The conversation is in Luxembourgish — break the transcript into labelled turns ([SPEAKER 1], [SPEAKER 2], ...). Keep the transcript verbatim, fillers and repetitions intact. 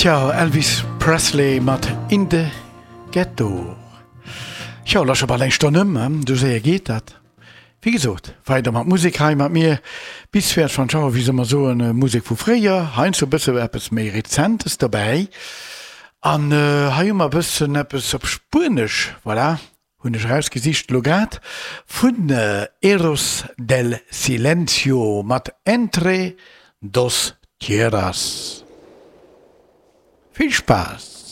[SPEAKER 1] Tja, Elvis Presley mat In the Ghetto. Tjo, lo scho bal eng Stonn ëm, sou séier geet dat. Wéi gesot, weider mat Musek hei mat mir bis véierenzwanzeg Auer, wéi se ëmmer soen, Musek vu fréier, heiansdo e bësse eppes méi Rezentes dobäi. An hei hu mer e bëssen eppes op Spuenesch, voilà, hunn ech erausgesicht elo grad, vun Héroes del Silencio mat Entre dos Tierras. Vill Spaass!